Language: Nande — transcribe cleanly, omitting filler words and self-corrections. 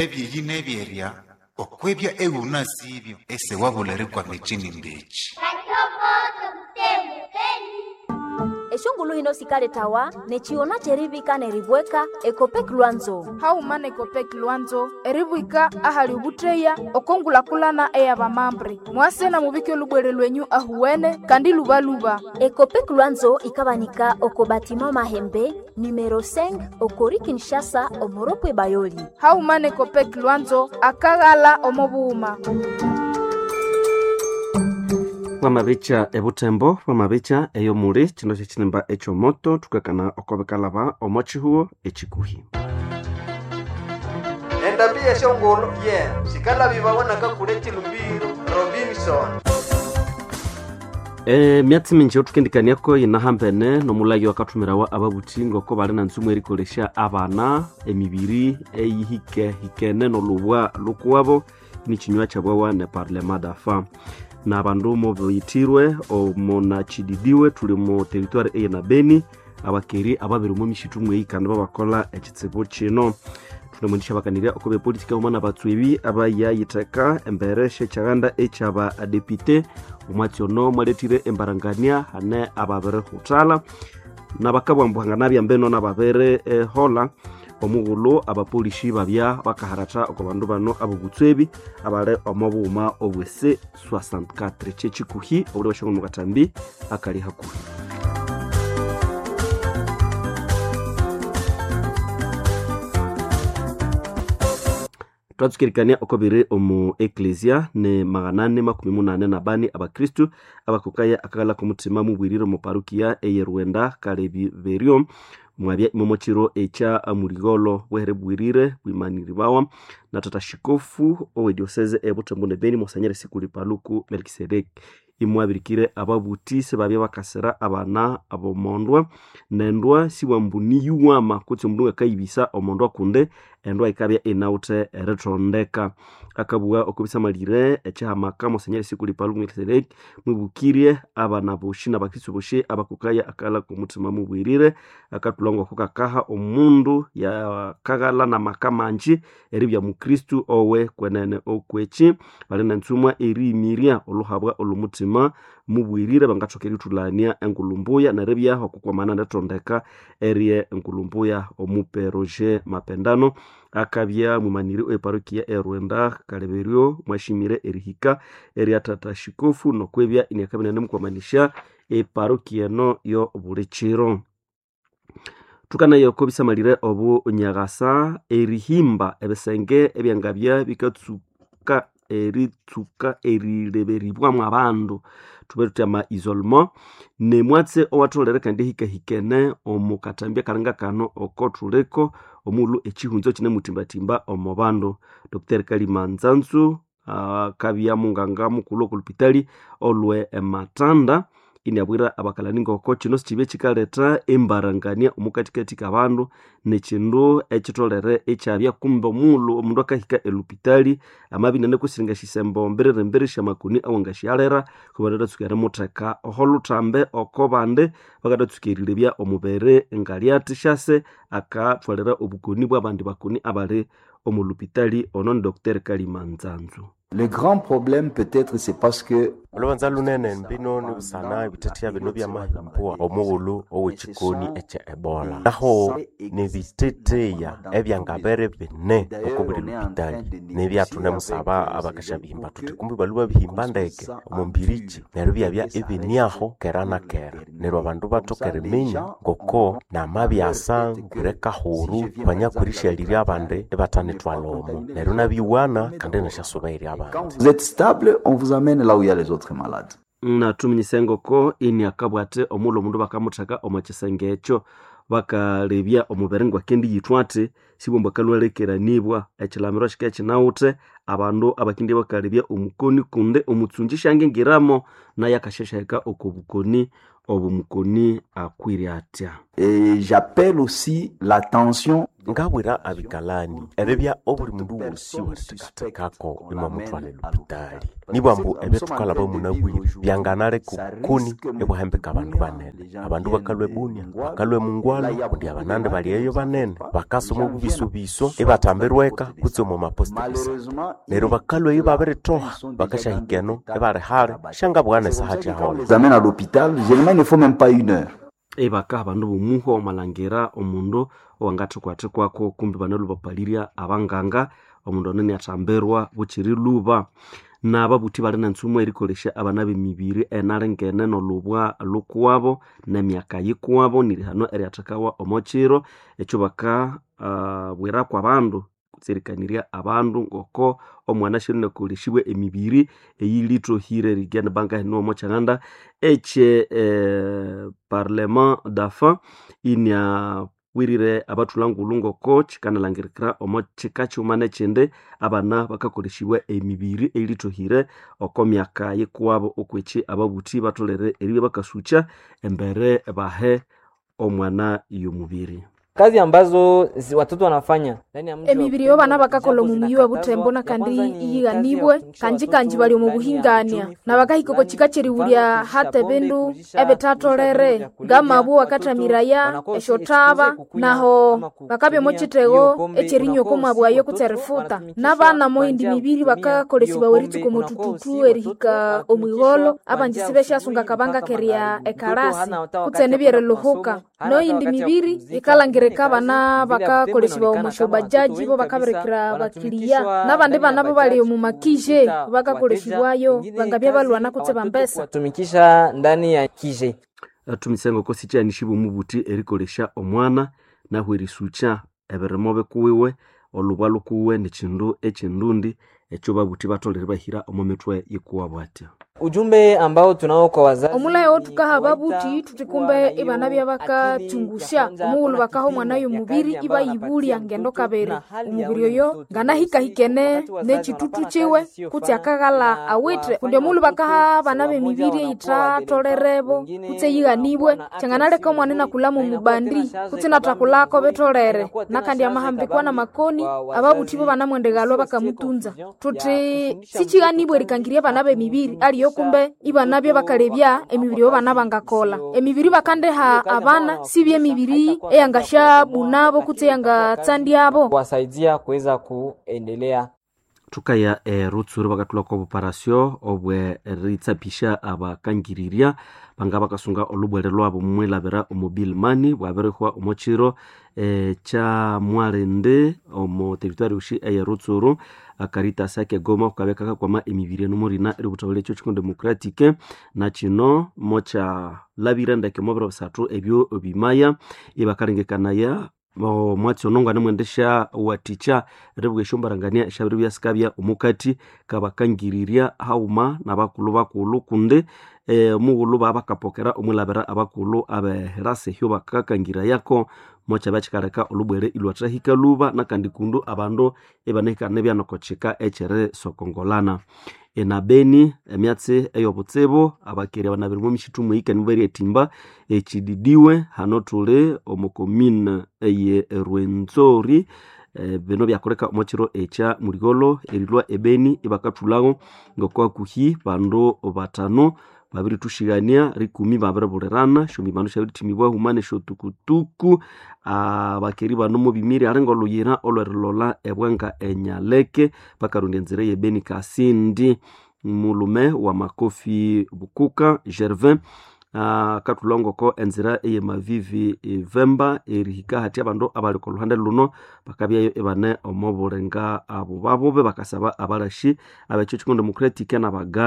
Ebyeyi nebyerya okwibya ewunasibyo esewabula erikwama ekyinimba ekyi. Eshongulu hino sikaletawa nechiona cherivika neribweka Ekopek Lwanzo. Hauma nekopek Lwanzo eribwika ahali ubutreya okongulakulana eyabamambre mwase na mubike olubwere lwenyu ahuwene kandi lubaluba. Ekopek Lwanzo ikabanika oko batima Mahembe numero 5 okori Kinshasa omoropwe Bayoli. Hauma nekopek Lwanzo akaghala omobuhuma. Wamabicha ebutembo wamabicha eyomuli kino kyekinimba ekyomoto tukakana okobikalaba omo kihuo ekikuhi. Endambi yeshongolo ye sikalabibawa nakakule chilumbiro Robinson. Myatsi mingi othukendikaniako yinahambene nomulagi wakathumirawa ababuthi ngoko bali na nzumu erikolesya abana emibiri eyihikehikene nolubwa lukuwabo nikinywa kyabwawa ne parlement dafa na bandu mubiyithirwe omunachididiwe tuli mu territoire eyina Beni abakeri ababiri omu mishitu mweyi kandi babakola ekitsibu kino. Thunemwendisya bakanirya oko bepolitika omwana batswebi abayayitheka embere syekyaganda ekyaba adepite omwatsi ono mwalethire embarangania hane ababirihuthalha nabakabwambuhanga nabyambeno nababiri ehola omughulhu abapolisi babya bakaharatha oko bandu bano abobutswebi abali omo bughuma obwese 64 kyekikuhi obuli bashongo mukatambi akali hakuhi. Twatsukirikania oko biri omu eklesia ni 884 abakristu abakokaya akaghala k'omuthima mubwirire omu parukia eye Rwenda Kaleberyo mwabya imomo kiro ekya muligholo bwehere bwirire bwimaniribawa na tata shikofu owe diocese e Butembo ne Beni Monseigneur Sikuli Paluku Melkisedeki imwabirikire ababuthi sibabya bakasira abana abomondwa nendwa siwambuniyuwama kutse omundu ngakayibisa omondwa kundi endwa ikabya inawuthe erithondeka. Akabugha okubisamalire ekyihamaka Monseigneur Sikuli Paluku Melkisedeki mwibukirye abana boshi nabakristu boshi abakokaya akaghalha k'omuthima mubwirire akathulha ngoko kakaha omundu yakaghalha n'amaka mangi eribya mukristu owe kwenene okwekyi bali nentsumwa eriyimirya olhuhabwa olw'omuthima mubwirire bangathoka erithulania engulumbuya neribyaho okukwamana nethondeka erye engulumbuya. Omupe Roger Mapendano akabya mwimaniri oweparokia erwenda Kaleberyo mwashimire erihika erya tata shikofu nokwibya iniakabya inanemukwamanisya eparokia eno yo buli kiro. Thukanaya oko bisamalire obunyakasa erihimba ebisenge ebyangabya bikatsuka eritsuka erileberibwamu abandu thube thuthi ama isolement nemwatsi owatholere kandi ehikahikene omu kathambi akalinga kano oko thuliko omughulhu ekihunzo kinemuthimbathimba omo bandu. Dr Kalima Nzanzu akabya munganga mukulhu oko lupitali olwe ematanda iniabwira abakalani ngoko kino sikibye kikaletha embarangania omukathikathi kabandu nekindu ekitholere ekyabya kumbe omughulhu omundu akahika elupitali amabya inanekusiringa esyisembo mbiririmbiri syamakoni awangasyalera kubandatsuka erimutheka oho luthambe oko bandi bakadatsuka erilebya omubiri ngalyathi syase akathwalira obukoni bwabandi bakoni abali omu lupitali. Ono ni Dr Kalima Nzanzu. Le grand problème peut-être c'est parce que olubanza lunene mbino nibusana ebitetheya bino byamahimbwa omughulhu ow'ekikoni ekya ebola naho nibitetheya ebyangabere bine oko buli lupitali nibyathune musaba abakasya bihimba thuthi kumbi balhwe babihimba ndeke omo mbiriki neryo ibyabya ibiniaho kera na kera neryo abandu bathoka eriminya ngoko namabyasa ngwire kahuru banyakwirishalirya abandi ibathanithwalha omo neryo nabiwana kandi nasyasuba abandi. Quand vous êtes stable, on vous amène là où il y a les autres malades. Nathuminyisa engoko ini akabwate omughulhu omundu bakamutheka omo kisenge ekyo bakalebya omubiri ngwakendiyithwa athi sibwambu akalhwalekeranibwa ekilamiro kika kinawuthe abandu abakindi bakalebya omukoni kundi omutsungi syangingiramo naye akasyashahika oko bukoni obu mukoni akwire atya. Et j'appelle aussi l'attention Ngabwira abikalani eribya obuli mundu wosi werithekathekako imwamuthwala elupitali nibwambu ebyathukalhaba munabwire byanganaleka obukoni ibwahambika abandu banene. Abandu bakalhwa ebunia, bakalhwa emungwalhu kundi abanandi bali eyo banene bakasoma obubisobiso ibathambirweka kutse omo mapost de sante. Neryo bakalhwa eyo ibabiritoha bakasyahika eno ibali hali syangabugha nesaha kyaholha. Les amène à l'hôpital, généralement il ne faut même pas une heure. Ebaka abandu bomuhwa omalhangira omundu owangathikwathikwaku kumbi banalubapalirya abanganga omundu ono iniathambirwa bukyiri lhuba. Nababuthi bali nentsumu erikolesya abana b'emibiri enalengene n'olubwa lukuwabo n'emyaka yikuwabo nirihano eryathekawa omo kiro ekyo baka bwiraku abandu kutse erikanirya abandu ngoko omwana syalinakolesibwa emibiri eyilithohire erigenda bangahina omo kyaghanda ekye parlement d'enfants iniabwirire abathulangulhu ngoko kyikanalhangirikira omo kika kighuma nekyindi abana bakakolesibwa emibiri eyilithohire oko myaka yikuwabo okwekyi ababuthi batholere eribya bakasukya embere bahe omwana y'omubiri. Kazi ambazo watoto wanafanya ndani ya mji wa Emibiri ey'abana Butembo bakakolha japo omu muyi wa zinakatazwa. Butembo Ya nakandi kwanza ni kazi ya iyighanibwe kutumikisha kanji watoto kanji bali omu ndani ya buhingania uchumi na bakahika oko fulani, kika mfano kyerighulya kuuzisha hata pombe, ebindu kuuzisha ebithatholere kuuzisha vyombo vya kulevya. ngamabwo Watoto wakathamiraya wanakuwa si esyothaba expose kukunywa naho ama bakabya omo kutumia kithego hiyo pombe, ekyerinywa oko unakuwa usi mwabwayo watoto kutse erifuta wanatumikishwa n'abana kwa moyindi njia ya mibiri kutumia hiyo bakakolesibwa pombe, eritsuka omo unakuwa usi thuthuthu watoto erihika omwigholho wanatumikishwa kwa abanji njia ya sibesyasunga asubuhi kabanga mpaka kerya magharibi. Mtoto ekarasi hana hata kutse wakati ya kwenda nibyerilhuhuka kumasomo, hana hata noyindi wakati ya mibiri kupumzika. Ingine yikalhangirika kazi abana vile ya Butembo bakakolesibwa omo inaonekana kama watoto syobajaji bo wengi kabisa bakabirikira bakiliya wanatumikishwa n'abandi ndani ya bana bo bali bajaji omu makije kuita wateja. bakakolesibwayo Ingine bangabya kazi balwana kutse watoto bambesa. kuwatumikisha ndani ya kije. Thumise ngoko sikyanisibwa omubuthi erikolesya omwana nahu erisukya ebirimo bikuwiwe olubwa lukuwiwe nikyindu ekyindundi ekyo babuthi batholere ibahira omo mithwe yikuwabo atya. Ujumbe ambao tunao kwa wazazi Omulhayo ni otukaha kuwaita ababuthi thuthi kuwa kumbe na ibana hiyo bya akili ya bakakyungusya kwanza omughulhu kuna bakaha omwana kipimo ya y'omubiri kazi ambayo ibayibulya anapatia ngendo mtoto kabiri na hali ya omubiri ule oyo mtoto. nganahikahikene Wakati wazazi n'ekitutu wanapana kiwe kazi kutse isiyofana akaghala na awithe kundi wafanya omughulhu watoto bakaha abana wamoja b'emibiri wanakuwa eyithatholerebo wadereva, wengine kutse eyighanibwe wanakuwa na afya kyanganaleka isiyo omwana nzuri, inakulha na inakuwa tena mumubandi shaze kutse kabambi inathakulhako nzuri, na bitholere inakuwa tena nakandi shaze amahambikwa kabambi n'amakoni kwa ababuthi bo wazazi. banamwendeghalwa Usiwasitie bakamutunza confusion ya thuthi kufundisha mtoto sikighanibwe kazi erikangirya abana na b'emibiri aliyo kumtumikisha kumbe ibanabya mtoto bakalebya emibiri kwa ey'abana kazi bangakolha isiyo emibiri bakandiha hiyo kazi ambayo abana sibye wanawafundisha emibiri haitakuwa kazi ya kuwabomoa, eyangasyabunabo kutse lakini itakuwa kazi ya eyangatsandyabo. kuwasaidia kuweza kuendelea. Thukaya erutsuru bakathulhako obuparasyo obwe eritsapisha abakangirirya banga bakasunga olhubwele lwabo mwilabira omo mobile money bwabirihwa omo kiro kya mwalindi omo territory yosi eye Rutsuru. Caritas ake Goma kukabya kakakwama emibiri eno murina eributhabalya ekyo kiko democratic na kino mokyalabire ndeke omo biro bisathu ebyo bimaya ibakalengekanaya omwatsi ono nganemwendesya wathikya eribugha esyombarangania esyabiribya sikabya omukati kabakangirirya haghuma nabakulhu bakulhu kundi omughulhu babakapokera omwilabira abakulhu abehirasa ehyo bakakangirayako mokyabya kyikaleka olhubwele ilhwathahika lhuba nakandi kundu abandu ibanahikana ibya ekyerisokongolana. Enabeni emyatsi eyobutsibu abakeri abanabiri omwamisitu mwihika nibaryathimba ekididiwe hano thuli omo commune eye Rwenzori. Bino byakoleka omo kiro ekya muligolo erilhwa ebeni ibakathulhago ngoko hakuhi bandu batano babirithushigania rikumi babiribulirana esyombimano syabirithimibwa huma nesyotukutuku. Abakeri bano mubimire ali ngolhuyira olwerilolha ebwenga enyaleke bakarondya enzira eyebeni kasindi. Mulhume wa Makofi Bukuka Gervin akathulha ngoko enzira eyemavivi Vemba erihika hathi abandu abali okolhuhande luno bakabyayo ibane omo bulenga abubabubi bakasaba abalashi abekyo kiko democratic nabaga.